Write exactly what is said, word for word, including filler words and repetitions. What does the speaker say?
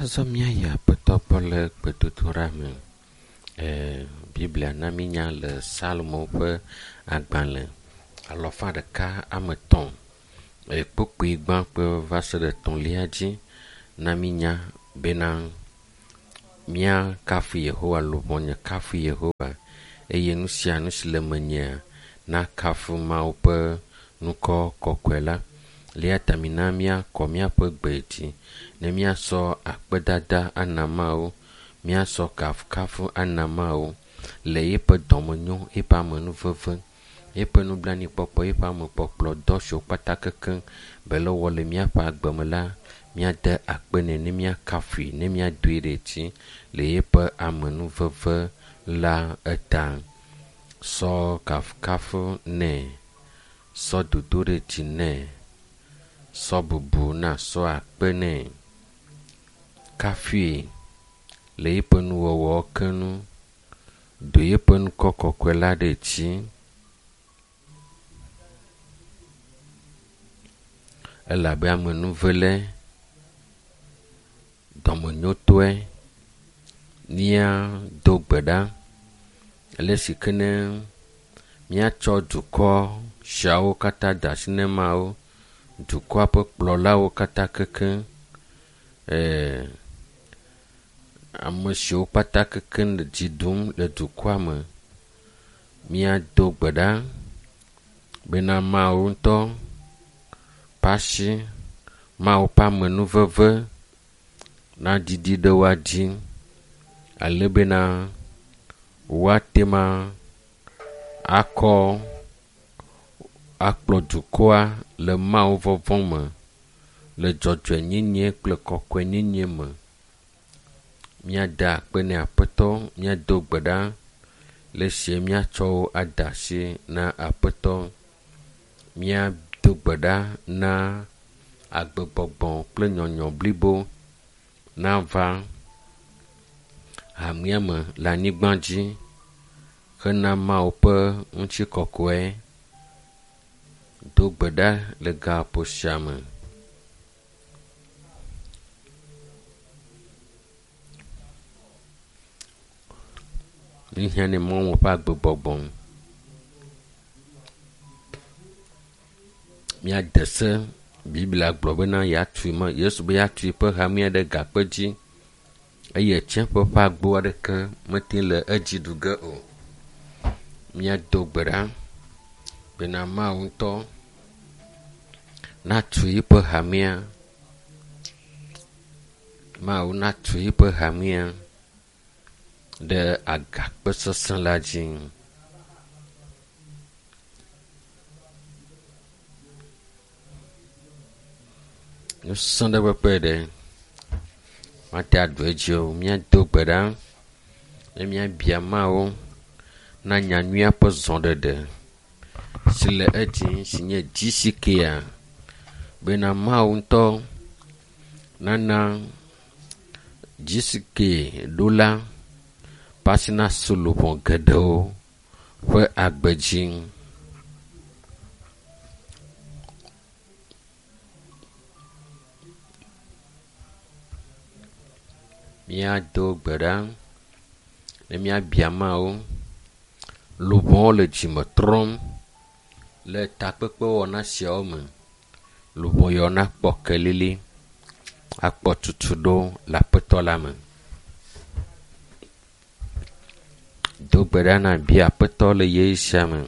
Azɔ míayi Aƒetɔ gbɔ le gbedodoɖa me. E, Biblia na mínya le Salomo ƒe agbalẽ alɔfa ɖeka ame etɔ̃ e, kpukpui gbãtɔ va se ɖe etɔ̃lia dzi na mínya bena míakafu Yehowa luʋɔnye kafu Yehowa eye nu sia nu si le menyea nakafu Mawu ƒe ŋkɔ kɔkɔe la. Le eya ta mina míakɔ míaƒe gbe dzi ne míasɔ akpedada ana Mawu, míasɔ kafukafu ana Mawu le yeƒe dɔmenyo, yeƒe amenuveve, yeƒe nublanuikpɔkpɔ, yeƒe amekpɔkplɔ dɔ siwo kpata kekeŋ be le wɔ le míaƒe agbe me la, míade akpe nɛ ne míakafui, ne míadoe ɖe dzi le yeƒe amenuveve la eta. Sɔ kafukafu nɛ, sɔ dodo ɖe dzi nɛ, sɔ bubu na sɔ akpe nɛ. Kafui le yeƒe nuwɔwɔ ke nu, do yeƒe ŋkɔ kɔkɔe la ɖe dzi. Elabe amenuvele, dɔmenyotɔe, míado gbe ɖa ale si ke ne míatsɔ dukɔ siawo katã de asi ne Mawu, dukɔa ƒe kplɔlawo katã kekeŋ, ee, ame siwo kpata kekeŋ le dzi ɖum le dukɔa me. Míado gbe ɖa bena Mawu ŋutɔ ƒe asi, Mawu ƒe amenuveve naɖiɖi ɖe woa dzi ale bena woate ma akɔ akplɔ dukɔa le Mawu vɔvɔ̃ me, le dzɔdzɔenyenye kple kɔkɔenyenye me. Míada akpe nɛ Aƒetɔ, míado gbe ɖa le esie míatsɔ wo ade asi na Aƒetɔ. Míado gbe ɖa na agbegbɔgbɔ kple nyɔnyɔ blibo nava hamea me le anyigba dzi hena Mawu ƒe ŋutikɔkɔe. Do gbe ɖa le gaƒoƒo sia me. Míhiã ne Mawu ƒe agbegbɔgbɔ. Míade se Biblia gblɔ bena yeatui me Yesu be yeatui ƒe hamea ɖe gakpe dzi eye tsiẽƒe ƒe agbo aɖeke mete le edzi ɖu ge o. Míado gbe ɖa bena Mawu ŋutɔ natu yeƒe hamea. Mawu natu yeƒe hamea ɖe agakpe sesẽ la dzi. Nusẽ ɖe kpekpe ɖe mate aɖu edzi o. Míado gbe ɖa ne míabia Mawu na nyanyuia ƒe zɔɖeɖe si le edzi si nye G C K bena Mawu ŋutɔ nana G C K ɖola ƒe asi nasu luʋɔ geɖewo ƒe agbe dzi. Míado gbe ɖa ne míabia Mawu. Luʋɔwo le dzime trɔm le takpekpewɔna siawo me. Luʋɔ yawo nakpɔ kelili, akpɔ tutuɖo le Aƒetɔ la me. Do gbe ɖa na bia Aƒetɔ le ɣeyiɣi sia me.